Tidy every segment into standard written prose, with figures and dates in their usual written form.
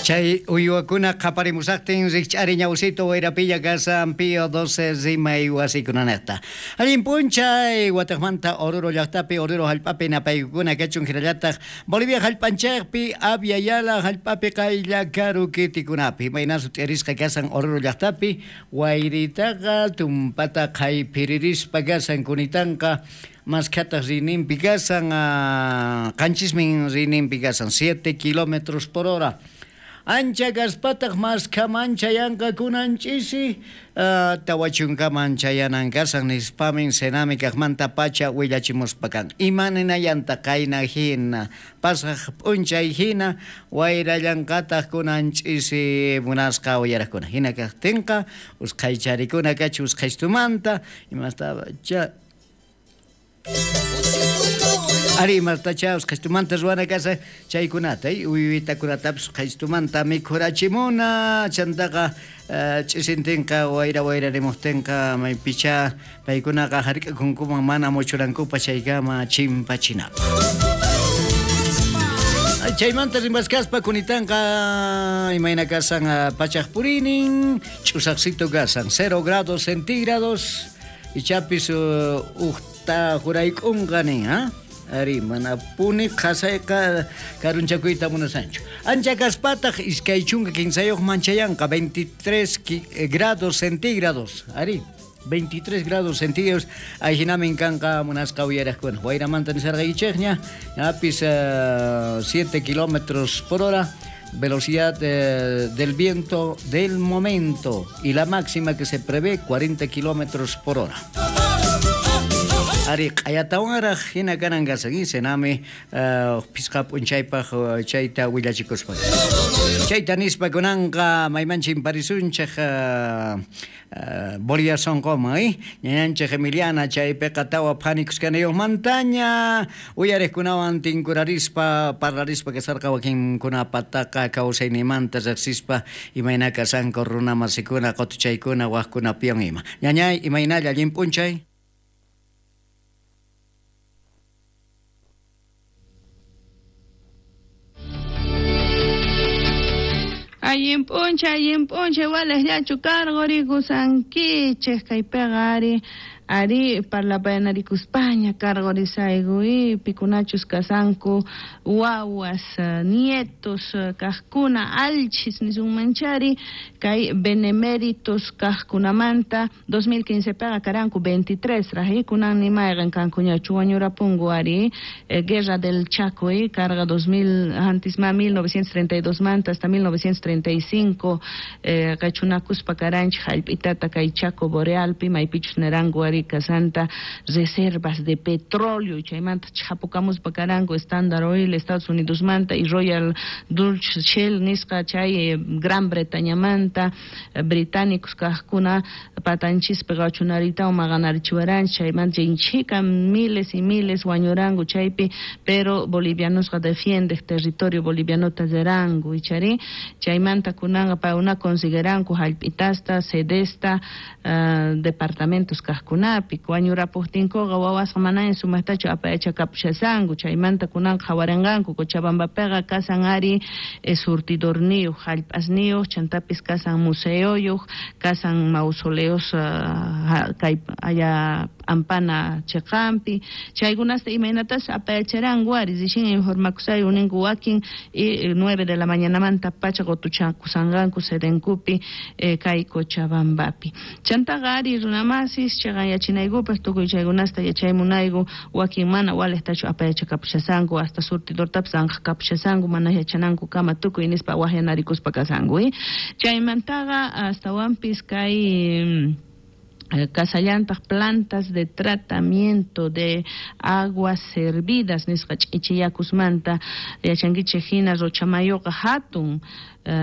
Chay uywakuna qhaparimusaqtin rikch'ari ñawsito wayrapilla kasan Pío 12 rimay wasikunanejta. Allin p'unchay watejmanta Oruro llaqtapi Oruro hallp'api napaykukuna kachun hinallataq Bolivia hallp'anchikpi Abya Yala hallp'api qaylla karu kitikunapi. Imayna sut'irisqa kasan Oruro llaqtapi wayritaqa tumpata qhayphiririspa kasan kunitanqa maskhataq riyninpi kasan qanchismin riyninpi kasan 7 kilómetros por hora. Ancha kaspataq maskhaman chayanqa kunan ch'isi 40kaman chayanan kasan nispamin SENAMI kaqmanta pacha willachimuspa kan. Ima ninayanta qayna hina pasaq p'unchay hina wayrallanqataq kunan ch'isi munasqa uyaraqkuna. Hina kaqtinqa usqhaycharikuna kachi usqhaystumanta imasta Ari imastacha usqhaystumanta ruwana kasa chaykunata uywitakunatapis usqhaystumanta mikhurachimuna chantaqa ch'isintinqa wayra wayrarimuqtinqa maypicha paykunaqa hark'akunkuman mana muchurankupa chaykama chimpachinapaq. Chaymanta rimaskaspa kunitanqa imayna kasan pachaq purinin ch'usaqsito kasan 0 grados centígrados ichapis uqta jurayk'unqa nin ha. Ari mana puni qhasayqa karunchakuyta munasanchu. Ancha kaspataq 23 chayanqa 23 grados centígrados. Ari 23 grados centígrados ahí kanqa munasqa uyaraqkuna. Wayramanta nisarqaykichikña apis 7 kilómetros por hora. Velocidad del viento del momento y la máxima que se prevé 40 kilómetros por hora. Ari q'ayatawanraq hina kanan kasan SENAMI phisqa p'unchaypaq chayta willachikuspa. Chayta nispa kunanqa mayman chimparisunchik Bolivia sonqoman ñañanchik Emiliana chaypiqa tawa phanikuskanayuqmantaña uyariqkunawan tinkurarispa parlarispa kasarqa wakinkunapataqa kawsaynimanta riqsispa imayna kasanku runa masikuna qutuchaykuna waqkunapiwan ima. Ñañay imaynalla allin p'unchay. Allin p'unchay walejllachu cargorikusankichej kaypiqa ari ari parlapayanarikuspaña cargorisayku pikunachus kasanku wawas nietos kaqkuna alchis nisunmanchari kay beneméritos kaqkunamanta 2015 piqa karanku 23 raj kunan nimayqan kankuñachu wañurapunku ari Guerra del Chaco carga 2000 antisma 1932 manta hasta 1935 qachunakuspa karanchik hallp'itata kay Chaco Borealpi maypichus neranku ari kasanta reservas de petróleo chaymanta chhapukamuspa karanku Standard Oil Estados Unidos manta y Royal Dutch Shell nisqa chay Gran Bretaña manta británicos kaqkuna patanchispi qachunaritawan maqanarichiwaranchik chaymanta chay miles y miles wañuranku chaypi pero bolivianosqa defiende territorio bolivianota riranku ichari chaymanta kunanqa paykuna consigueranku hallp'itasta sedesta departamentos kaqkunapi wañurapuqtinkuqa wawasqa manaña sumaqtachu apayachakapushasanku chaymanta kunanqa qhawarinqanku Cochabambapiqa kasan ari surtidorniyuq hallp'asniyuq chantapis kasan museoyuq kasan mausoleos kay aya p'ampana chiqanpi chaykunasta imaynatas apayacharanku ari rixin informakusayku ninku wakin y 9 de la mañanamanta pacha qutuchakusanqanku sedenkupi kay Cochabambapi chantaqa ari runamasis chiqanyachinaykupaq tukuy chaykunasta yachaymunayku wakin mana walejtachu apayachakapushasanku hasta surtidortapis anqakapushasanku mana yachananku kama tukuy nispa waqyanarikuspa kasanku chaymantaqa astawanpis kay kasallantaq plantas de tratamiento de aguas servidas nisqa ch'ichiyakusmanta yachankichik hina Rochamayoqa hatun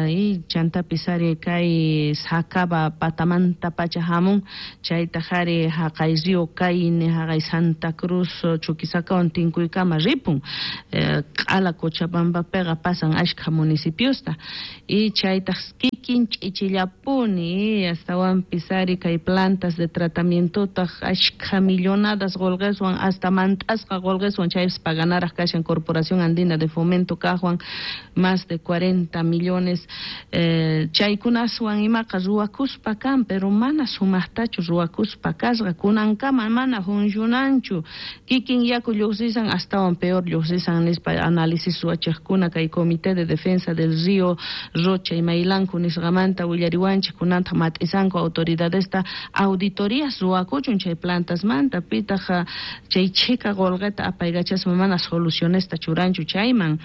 y chantapis ari kay Sacaba patamanta pacha hamun chaytaq ari haqay río Caine haqay Santa Cruz Chuquisacawan tinkuykama ripun q'ala Cochabambapiqa pasan ashkha municipiosta y chaytaq kikin ch'ichillapuni astawanpis ari kay plantas Plantas de tratamientotaq ashkha millonadas qolqeswan hasta mant'asqa qolqeswan chaypis paganaraj kashan Corporación Andina de Fomento kajwan más de 40 millones chaykunaswan imaqa ruwakuspa kan, pero mana sumaqtachu ruwakuspa kasqa, kunankama mana funcionanchu, kikin yaku lluqsisan astawan peor lluqsisan nispa análisis ruwachejkuna kay Comité de Defensa del Río Rocha imaylanku nisqamanta willariwanchik, kunanta mat'isanku autoridadesta auditorías ruwakuchun chay plantasmanta, pitaq chay chhika qolqeta apaykachaspa mana solucionesta churanchu chayman,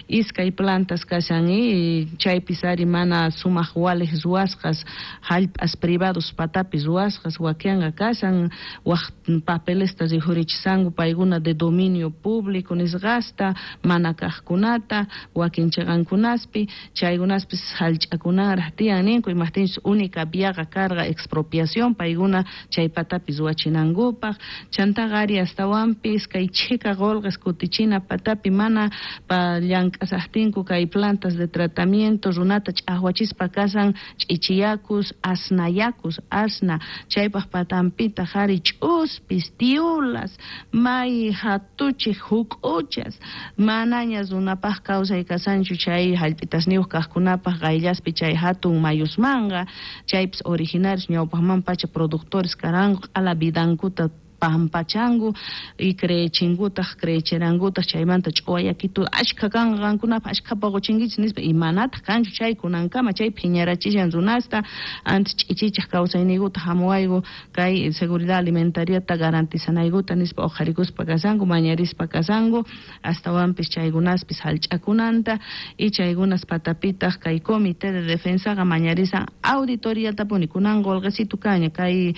iskay plantas kashan y chaypis ari mana sumaq walej ruwasqas, hallp'as privados patapi ruwasqas wakinqa kashan, waj papelesta rikhurichisanku paykuna de dominio público nisqasta mana kajkunata wakin chiqankunaspi, chaykunaspis hallch'akunaraj tiyan ninku, imajtinchus única viaqa karqa expropiación paykuna chay patapi ruwachinankupaq, chantaqa ari astawanpis kay chhika qolqes kutichina patapi mana llank'asajtinku kay plantas de tratamiento runata ch'ajwachispa kasan ch'ichiyakus, asnayakus, asna, chaypaj patanpitaq ari ch'uspis, tiulas, may hatuchij huk'uchas, manaña runapaj kawsay kasanchu chay hallp'itasniyuq kajkunapaj qayllaspi chay hatun mayusmanqa, chaypis originarios ñawpajman pacha productores karanku q'ala vidankuta pampachanku y creechinkutaq creecherankutaq chaymanta ch'uwayakitu ashkha kanqa qankunapaj ashkha poqochinkichis nispa, y manataq kanchu chay kunankama chay phiñarachishan runasta, antes ch'ichichaj kawsayniykuta hamuwayku kay seguridad alimentariata garantizanaykuta nispa uqharikuspa kasanku, mañarispa kasanku, astawanpis chaykunaspis hallch'akunanta y chaykunas patapitaq kay comité de defensaqa mañarisan auditoriatapuni kunan qolqesitu kaña kay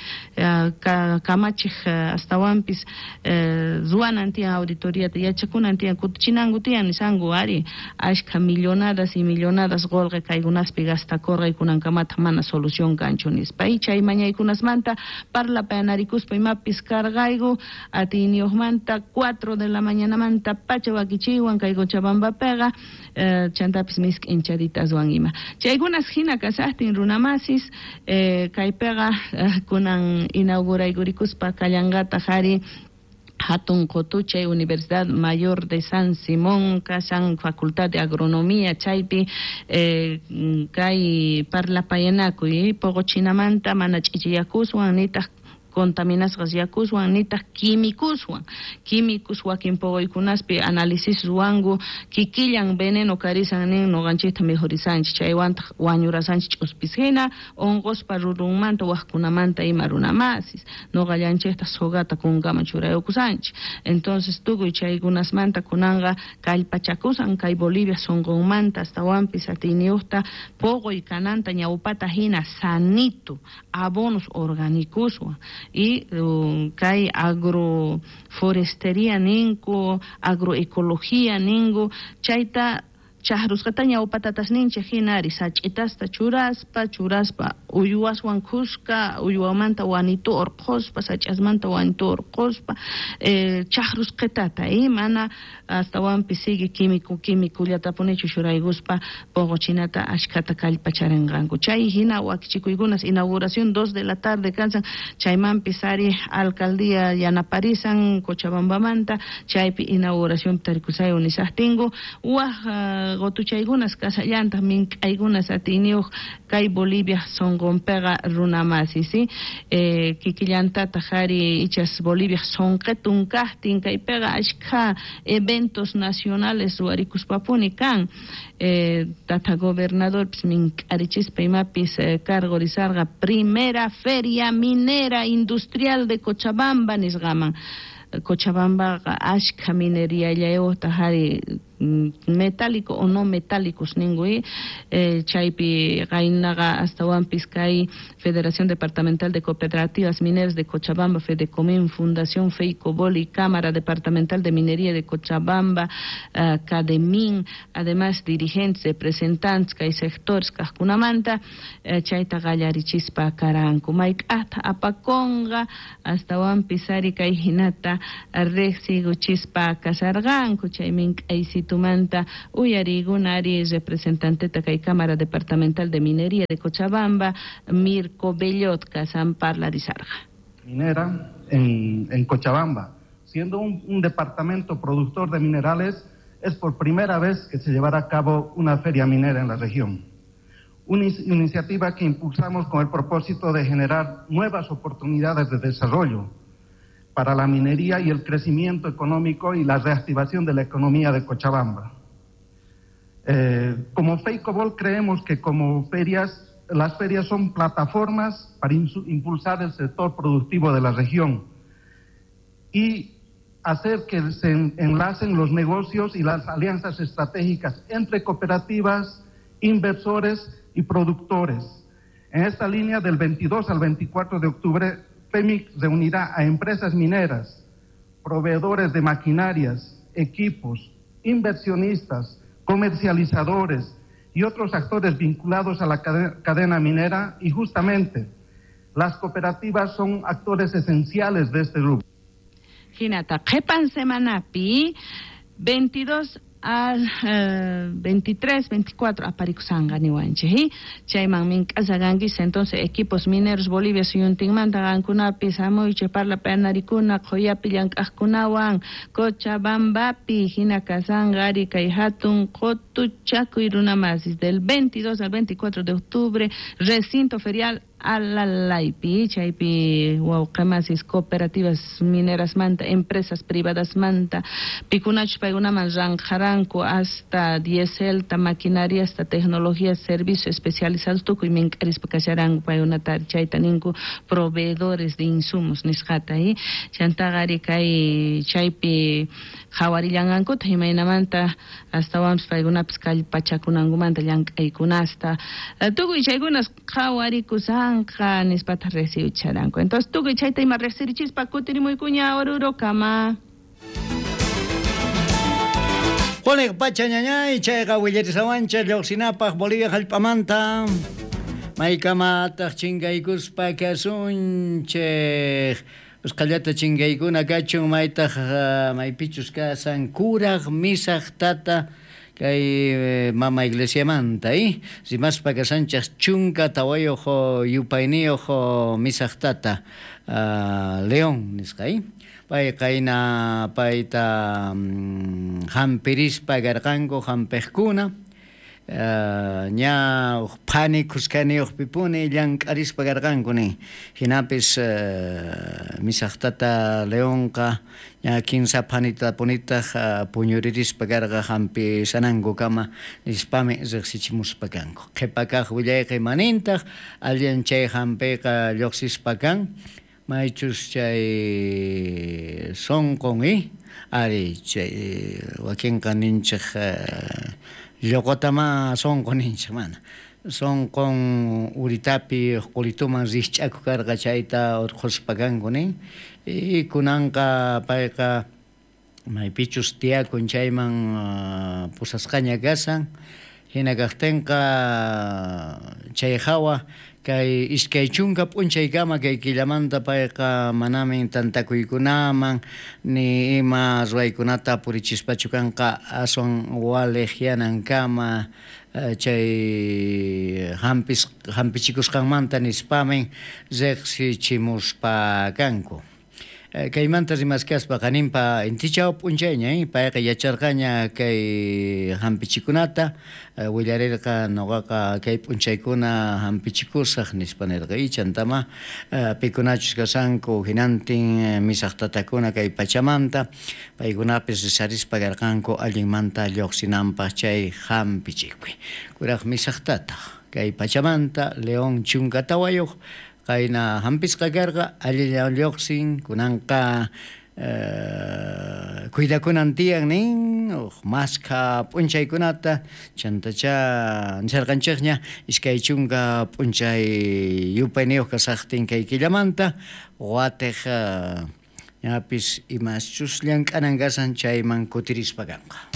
kamachij astawanpis ruwanan tiyan auditoriata yachakunan tiyan kutichinanku tiyan nisanku ari ashkha millonadas y millonadas qolqe kaykunaspi gastakurqa y kunankamataq mana solución kanchu nispa, y chay mañaykunasmanta parlapayanarikuspa imapis karqayku atiyniyuqmanta 4 de la mañanamanta pacha wakichiywan kay Cochabambapiqa chantapis misk'inchaditaswan ima chaykunas hina kasaqtin runamasis kaypiqa kunan inauguraykurikuspa kallanqataq ari hatun qotuchay Universidad Mayor de San Simón kasan Facultad de Agronomía chaypi kay parlapayanakuy poqochinamanta mana ch'ichiyakuswan nitaq contaminasqas yakuswan nitaq químicoswan, químicos wakin poqoykunaspi análisis ruwanku kikillan veneno karisan nin noqanchikta mejorisanchik chaywantaq wañurasanchik ch'uspis hina unquspa rurunmanta wajkunamanta ima runamasis noqallanchikta sogata kunkaman churayukusanchik, entonces tukuy chaykunasmanta kunanqa kallpachakusan kay Bolivia sunqunmanta astawanpis atiyniyuqta poqoy kananta ñawpata hina sanito abonos orgánicoswan y kay agroforestería ninku, agroecología ninku, chayta chaqrusqata ñawpatatas ninchik hina ari sach'itasta churaspa, churaspa uywaswan khuska, uywamanta wanitu urqhuspa, sach'asmanta wanitu urqhuspa, chaqrusqitata mana astawanpis sigue químico quimicullatapunichu churaykuspa poqochinata ashkhata kallpacharinqanku. Chay hina wakichikuykunas inauguración 2 de la tarde kansan, chaymanpis ari alcaldía yanaparisan Cochabambamanta, chaypi inauguración tarikusay unisaqtinku waj gotuchaykunas kasallantaq mink'aykunas atiyniyuq kay Bolivia sunqunpiqa runamasi, ¿sí? Kikillantataq ari ichas Bolivia sunqitun kaqtin kaypiqa ashkha eventos nacionales ruwarikuspapuni kan, tata gobernadorpis mink'arichispa imapis cargo risarqa primera feria minera industrial de Cochabamba nisqaman, Cochabambaqa ashkha minería-llayuqtaq ari metálico o no metálicos ninku, chaypi qaynaqa astawanpis kay Federación Departamental de Cooperativas Mineras de Cochabamba, Fedecomín, Fundación Feicobol y Cámara Departamental de Minería de Cochabamba, Cademin, además dirigentes, representantes kay sectores kajkunamanta, chayta qallarichispa karanku mayk'ajta apakunqa astawanpis ari kay hinata riqsikuchispa kasarqanku chay mink'aysitu Chayritumanta uyariykuna ari representanteta kay Cámara Departamental de Minería de Cochabamba, Mirko Bellot, kasan parlarisarqa. Minera en Cochabamba, siendo un departamento productor de minerales, es por primera vez que se llevará a cabo una feria minera en la región. Una iniciativa que impulsamos con el propósito de generar nuevas oportunidades de desarrollo para la minería y el crecimiento económico y la reactivación de la economía de Cochabamba. Como FEICOBOL creemos que como ferias, las ferias son plataformas para impulsar el sector productivo de la región y hacer que se enlacen los negocios y las alianzas estratégicas entre cooperativas, inversores y productores. En esta línea, del 22 al 24 de octubre, FEMIC reunirá a empresas mineras, proveedores de maquinarias, equipos, inversionistas, comercializadores y otros actores vinculados a la cadena minera, y justamente las cooperativas son actores esenciales de este grupo. Jinata, qhepan semanapi 22 al 23, 24 aparikusanga niwanchej, chayman mink'asakankichis. Entonces equipos mineros Bolivia suyuntinmanta qankunapis hamuychej parlapayanarikuna qhuyapi llank'aqkunawan Cochabambapi hina kasanqa ari kay hatun qotuchakuy runamasis del 22 al 24 de octubre, recinto ferial Alalaypi, chaypi wawqemasis cooperativas mineras manta, empresas privadas manta, pikunachus paykunaman ranqaranku hasta dieselta, maquinaria, hasta tecnología, servicios especializados, tukuy mink'arispa kasharanku paykunata chayta ninku proveedores de insumos nisqata, chantaqa ari kay chaypi qhawarillanqankuta imaynamanta astawanpis paykunapis kallpachakunankumanta llank'aykunasta tukuy chaykunas qhawarikushan nispata recibicharanku. Entonces tukuy chayta ima riqsirichispa kutirimuykuña Orurokama. Juanek pacha ñañay chayqa willarisawanchik lluqsinapaq Bolivia hallp'amanta maykamataq chinkaykuspa kasunchik usqhallata chinkaykuna kachun maytaq maypichus kasan kuraq misaq tata kay mama iglesiamanta rimaspa kasanchik 14 yupayniyuq misaq tata León nisqa pay qayna payta hampirispa karqanku hampiqkuna ña phani khuskaniyuqpipuni llank'arispa karqanku nin hinapis misaq tata Leonqa ña kinsa phanitapunitaq puñuririspa karqa hampisanankukama nispami riqsichimuspa kanku qhipa kaq willayqa imanintaq allin chay hampiyqa lluqsispa kan maychus chay sunqun ari chay wakinqa ninchik lluqutama sunqu ninchik mana sunqun uritapi qulituman rikch'akuq karqa chayta urqhuspa kanku nin y kunanqa payqa maypichus tiyakun chayman pusasqaña kasan hina kaqtinqa chay hawa kay 20 p'unchaykama kay killamanta payqa manamin tantakuykunaman ni ima ruwaykunata purichispachu kanqa aswan waliq yanankama chay hampichikusqanmanta nispamin riqsichimuspa kanku. Kaymanta rimaskaspa qaninpa intichaw p'unchayña payqa yacharqaña kay hampichikunata willarirqa nuqaqa kay p'unchaykuna hampichikusaq nispa nirqa chantama pikunachus kasanku hinantin misaq tatakuna kay pachamanta paykunapis risarispa karqanku allinmanta lluqsinanpaq chay hampichikuy kuraq misaq tata kay pachamanta León 14 qayna hampisqa karqa allillan lluqsin kunanqa cuidakunan tiyan nin maskha p'unchaykunata chantacha nisharqanchikña 20 p'unchay yupayniyuq kasaqtin kay killamanta watiq ñapis imaschus llank'anan kasan chayman kutirispa kanqa.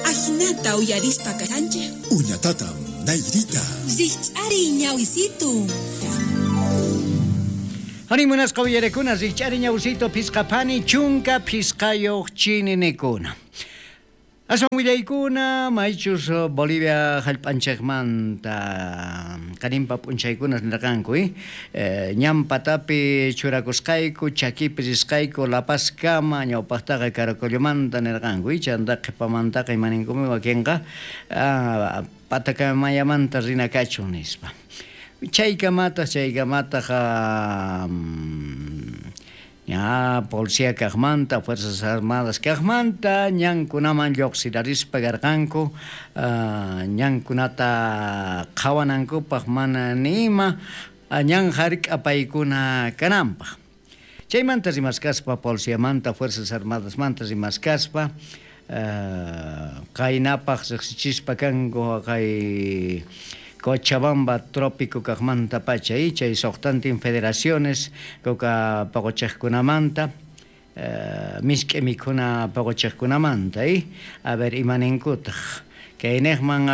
Ajinata uyarispa kasanchej. Uñatatam nayrita. Rikch'ariy ñawisitu. Arí munasqa uyarekuna rikch'ari ñawsito phisqaphani chunka phisqayuq chininikuna. Aswan willaykuna maychus Bolivia hallp'anchikmanta qarinpa p'unchaykuna nirqanku ñan patapi churakusqayku chakipi risqayku La Pazkama ñawpaqtaqa Caracollomanta nirqanku chanta qhipamantaqa imaninkumi wakinqa Patacamayamanta rina kachun nispa. Chaykamataq chaykamataq ña policía kaqmanta, Fuerzas Armadas kaqmanta ñankunaman lluqsirarispa karqanku ñankunata qhawanankupaq mana ni ima ñan hark'apaykuna kananpaq. Chaymanta rimaskaspa, policiamanta, Fuerzas Armadasmanta rimaskaspa, qaynapaq riqsichispa kanku kay Cochabamba trópico kaqmantapacha chay suqtantin federaciones kuka puquchiqkunamanta, misk'i mikhuna puquchiqkunamanta a ver imaninkutaq. Kayniqman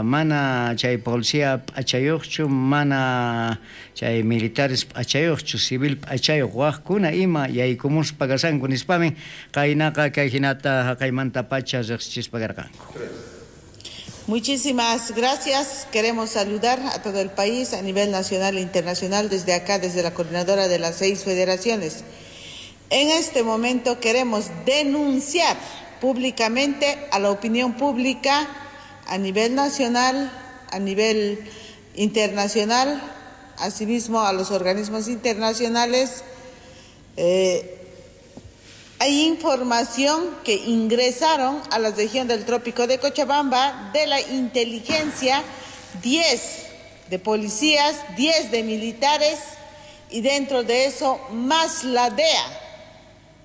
mana chay policía p'achayuqchu, mana chay militares p'achayuqchu, civil p'achayuq waqkuna ima yaykumuspa kashanku nispamin qaynaqa kay hinata haqaymantapacha riqsichispa karqanku. Muchísimas gracias. Queremos saludar a todo el país a nivel nacional e internacional desde acá, desde la coordinadora de las 6 federaciones. En este momento queremos denunciar públicamente a la opinión pública a nivel nacional, a nivel internacional, asimismo a los organismos internacionales. Hay información que ingresaron a la región del Trópico de Cochabamba de la inteligencia, 10 de policías, 10 de militares y dentro de eso más la DEA,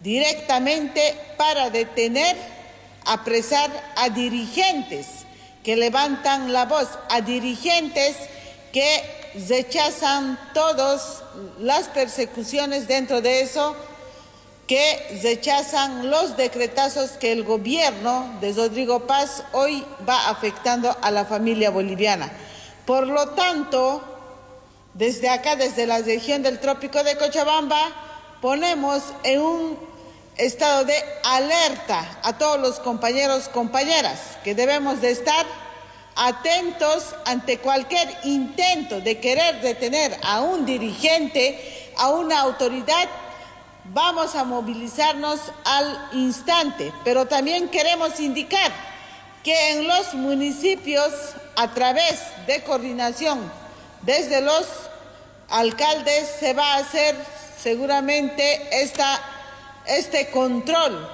directamente para detener, apresar a dirigentes que levantan la voz, a dirigentes que rechazan todas las persecuciones dentro de eso, que rechazan los decretazos que el gobierno de Rodrigo Paz hoy va afectando a la familia boliviana. Por lo tanto, desde acá, desde la región del Trópico de Cochabamba, ponemos en un estado de alerta a todos los compañeros, compañeras, que debemos de estar atentos ante cualquier intento de querer detener a un dirigente, a una autoridad. Vamos a movilizarnos al instante, pero también queremos indicar que en los municipios, a través de coordinación desde los alcaldes, se va a hacer seguramente este control.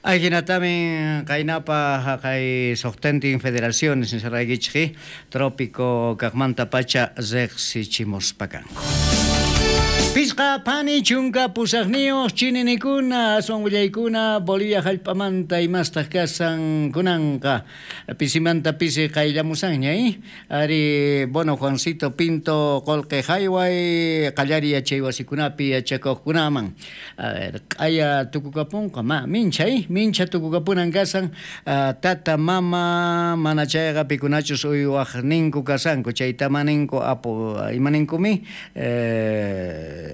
Ajinatamin qaynapa haqay suqtantin federaciones nisaraykichik trópico kaqmanta pacha riqsichimuspa kanku. Pisqa pani chunka pusaqniyuq chininikuna aswan willaykuna Bolivia hallp'amanta imastaq kasan kunanqa pisimanta pisi qayllamusanña ari bueno Juancito Pinto qullqi hayway qallari yachay wasikunapi yachakuqkunaman a ver q'aya tukukapunqa ma mincha mincha tukukapunan kasan tata mama mana chayqa pikunachus uywaqninku kasanku chayta maninku apu imaninkumi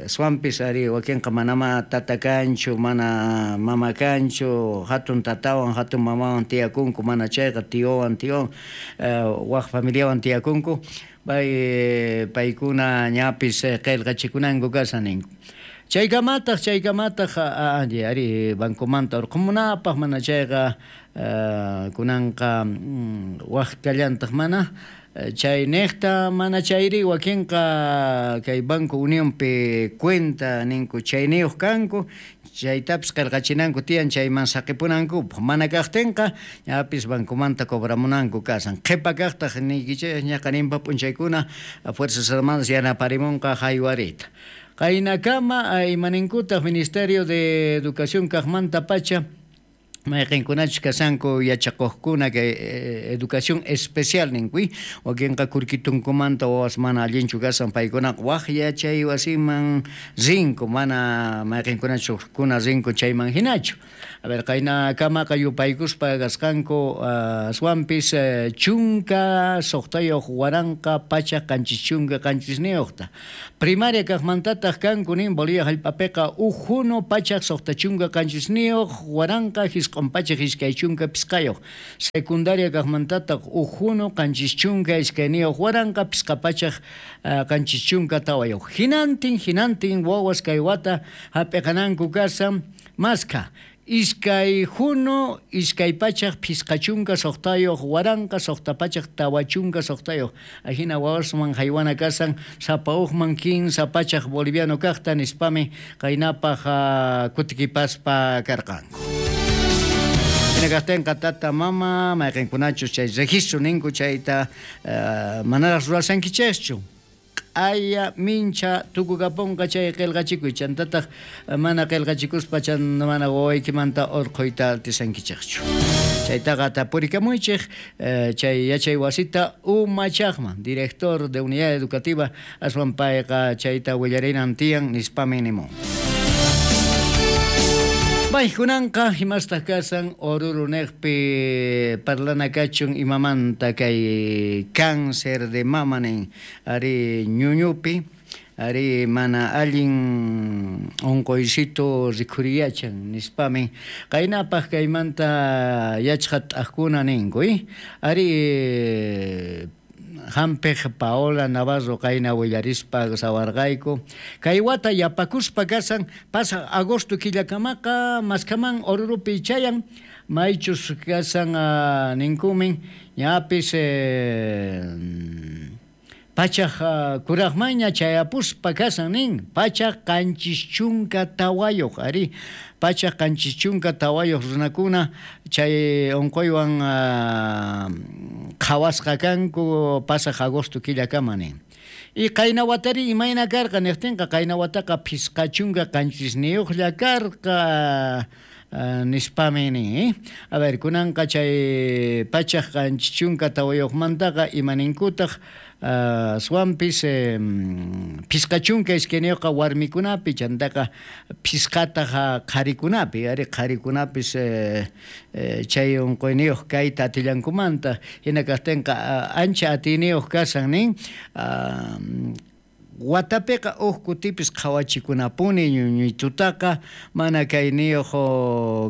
swampis ari wakinqa manama tata kanchu mana mama kanchu hatun tatawan hatun mamawan tiyakunku mana chayqa tiowan tion waq familiawan tiyakunku pay paykuna ñapis qillqachikunanku kasan ninku. Chaykamataq ari bancomanta urqumunapaq mana chayqa kunanqa waq kallantaq mana chay niqta mana chayri wakinqa kay Banco Unionpi cuenta ninku chayniyuq kanku chaytapis qillqachinanku tiyan chayman saqipunankupaq mana kaqtinqa ñapis bancomanta cobramunanku kasan qhipa kaqtaq niykichik ñaqaninpa p'unchaykuna Fuerzas Armadas yanaparimunqa haywarita. Qaynakama imaninkutaq Ministerio de Educación kaqmanta pacha Mayqinkunachus kashanku yachaqojkuna kay educación especial ninkuy, wakinqa kurkitunkumanta wawas mana allinchu kashan, paykunaqa waj yachay wasiman rinku, mana mayqinkunachus ujkuna rinku chayman hinachu. A ver, qaynakamaqa yupaykuspa kasqanku aswanpis 16 177. Primaria kaqmantataq kanku nin Bolivia hallp'apiqa uj junu 679 925. Secundaria kaqmantataq uj junu 72 574. Hinantin, hinantin wawas kay wata hap'iqananku kashan maskha 2 junu 256 646. Ajina wawasman jaywana kashan sapa ujman 300 boliviano kaqta nispami qaynapaq kutikipaspa karqanku. Hina kaqtinqa tata mama mayqinkunachus chay registro ninku chayta manaraq rurashankichikchu. Q'aya mincha tukukapunqa chay qillqachikuy, chantataq mana qillqachikuspa chan mana wawaykimanta urqhuyta atisankichikchu. Chaytaqa tapurikamuychik chay yachay wasita umachaqman, director de unidad educativa aswan payqa chayta willarinan tiyan nispami nimun. Paykunanqa imastaq kasan Oruro neqpi parlana kachun imamanta kay cáncer de mama nin ari ñuñupi ari mana allin unquycito rikhuriyachan nispami qaynapaq kaymanta yachqat'aqkuna ninku ari hampiq Paola Navarro qayna willarispa sawarqayku kay wata yapakuspa kasan pasaq agosto killakamaqa maskaman Orurupi chayan maychus kasan ninkumin ñapis pachaq kuraqmanña chayapuspa kasan nin 774 ari 774 runakuna chay unquywan qhawasqa kanku pasaq agosto killakama nin. Y qayna watari imayna karqa niqtinqa qayna wataqa 57 karqa nispami nin. A ver, kunanqa chay 774mantaqa imaninkutaq aswanpis 52 warmikunapi chantaqa 5 qharikunapi ari qharikunapis chay unquyniyuq kayta atillankumanta hina kaqtinqa ancha atiyniyuq kasan nin watapiqa uj kutipis qhawachikunapuni ñuñuytutaqa mana kayniyuq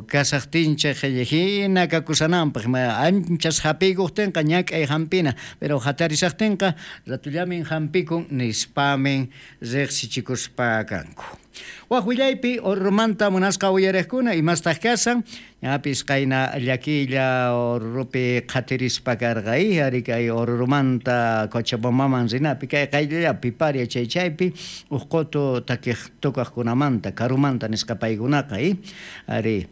kasaqtinchik hina kakusananpaq anchas hapiykuqtinqa ñak'ay hampina pero hatarisaqtinqa ratullamin hampikun nispamin riqsichikuspa kanku. Waj willaypi Orurumanta munasqa uyariqkuna imastaq kasan ñapis qayna llakilla Orurupi qhatirispa karqa ari kay Orurumanta Cochabambaman rinapi kay qayllapi paria chay chaypi uj qutu takiq tukaqkunamanta karumanta nisqa paykunaqa ari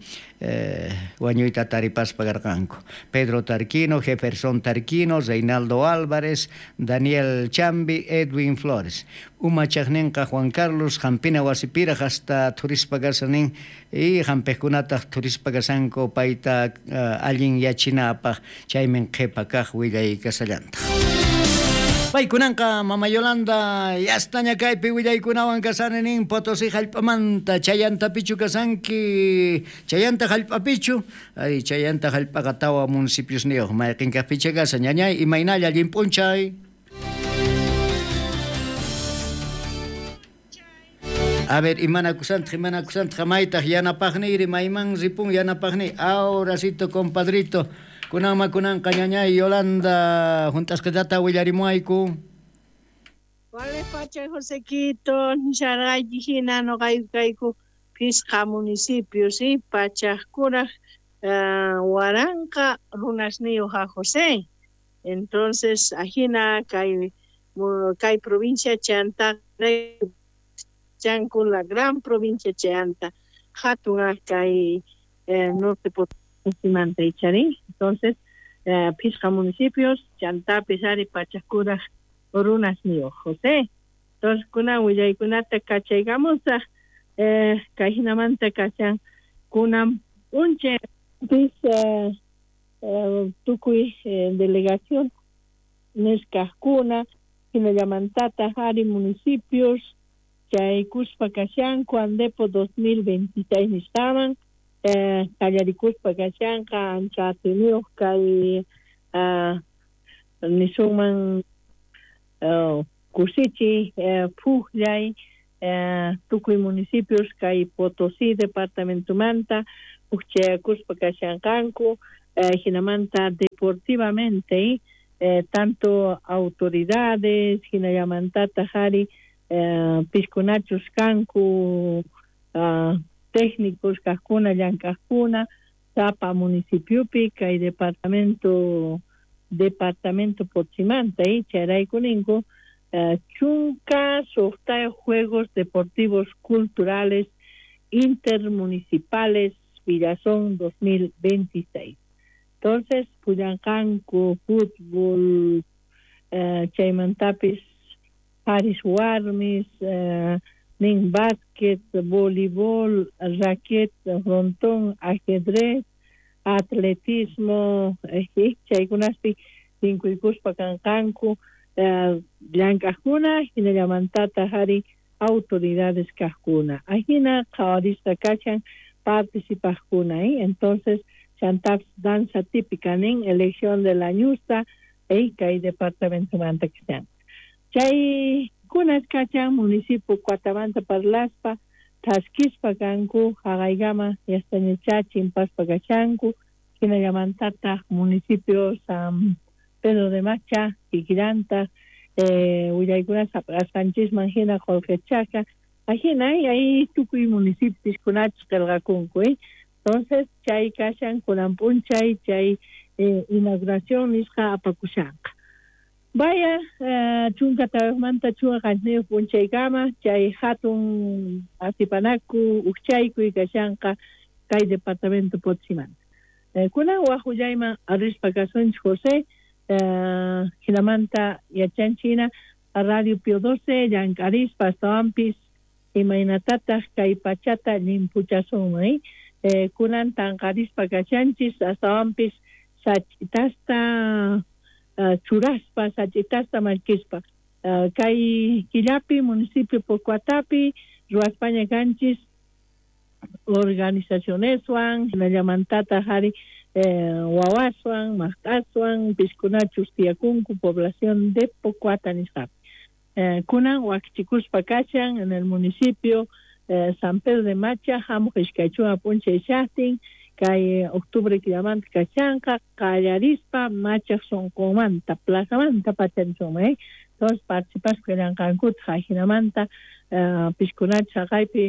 wañuyta taripaspa karqanku Pedro Tarquino, Jefferson Tarquino, Reinaldo Álvarez, Daniel Chambi, Edwin Flores. Umachaqninqa Juan Carlos hampina wasipiraq hasta thurispa kasanin y hampiqkunataq thurispa kasanku payta allin yachinapaq chaymin qhipa kaq willay kasallantaq. Paykunanqa mama Yolanda yastaña kaypi willaykunawan kasani nin Potosí hallp'amanta chayantapichu kasanki chayanta hallp'apichu ari chayanta hallp'aqa tawa municipiosniyuq mayqin kaqpicha kasan ñañay imaynalla allin p'unchay. A ver, imanakusantaq imanakusantaq maytaq yanapaqniyri mayman ripun yanapaqniy ahoracito compadrito kunanma kunanqa ñañay Yolanda hunt'asqitata willarimuayku. Wale pacha Josequito, nisharqayki hina nuqayku kayku phisqa municipios pachaqkuraq waranqa runasniyuq a José. Entonces ajina kay kay provincia chanta chanku la gran provincia chanta hatun kay norte Potosímanta icharí. Entonces phisqa municipios chantapis ari pachaqkuraq runasniyuq José. Entonces kunan willaykunata kachaykamusaq kay hinamanta kashan kunan p'unchay Pis tukuy delegación nisqajkuna hinallamantataq ari municipios chaykuspa kashanku Andepo 2026 nisqaman qallarikuspa kashanqa ancha atiyniyuq kay nisunman kusichiy phukllay tukuy municipios kay Potosí departamentomanta hukchayakuspa kashanqanku hinamanta deportivamente tanto autoridades hinallamantataq ari piskunachus kanku técnicos kaqkuna llank'aqkuna sapa municipiopi kay departamento Potosímanta chayrayku ninku 16 Juegos Deportivos Culturales Intermunicipales Villazón 2026. Entonces, pullanqanku fútbol, chaymantapis haris warmis, nin básquet, voleibol, raquet, frontón, ajedrez, atletismo, chaykunaspi tinkuykuspa kanqanku llank'aqkuna hinallamantataq ari autoridades kaqkuna. Ajina qhawarisqa kashan participaqkuna, entonces chantapis danza típica nin elección de la ñusta kay departamentomanta kashan. Chay kunas kachan municipio Cuatamanta parlaspa thaskispa kanku haqaykama yastañachá chimpaspa kashanku hinallamantataq municipio San Pedro de Macha kikillantaq willaykunas hap'asqanchisman hina qullqichaqa ajina hay tukuy municipios kunachus qillqakunku. Entonces chay kashan kunan p'unchay chay inauguración nisqa apakushanqa. Vaya 14manta 17 p'unchaykama chay hatun atipanaku ukchaykuy kashanqa kay departamento Potosímanta. Kunan waj willayman rispa kasunchik José, hinamanta yachanchina Radio Pío 12 llank'arispa astawanpis imaynatataq kay pachata llimpuchasunman kunan tanqarispa kashanchis astawanpis sach'itasta churaspa sach'itasta mallkispa kay killapi municipio Pocoatapi ruwaspaña kanchis organizacioneswan hinallamantataq ari wawaswan maqt'aswan piskunachus tiyakunku población de Pocoata nisqapi. Kunan wakichikuspa kashan en el municipio San Pedro de Macha hamuq 20 p'unchay shaqtin kay octubre killamanta kashanqa qallarispa Machaq sunqunmanta plazamanta pacharisunman. Entonces participaspa kallanqankutaq ajinamanta piskunachus haqaypi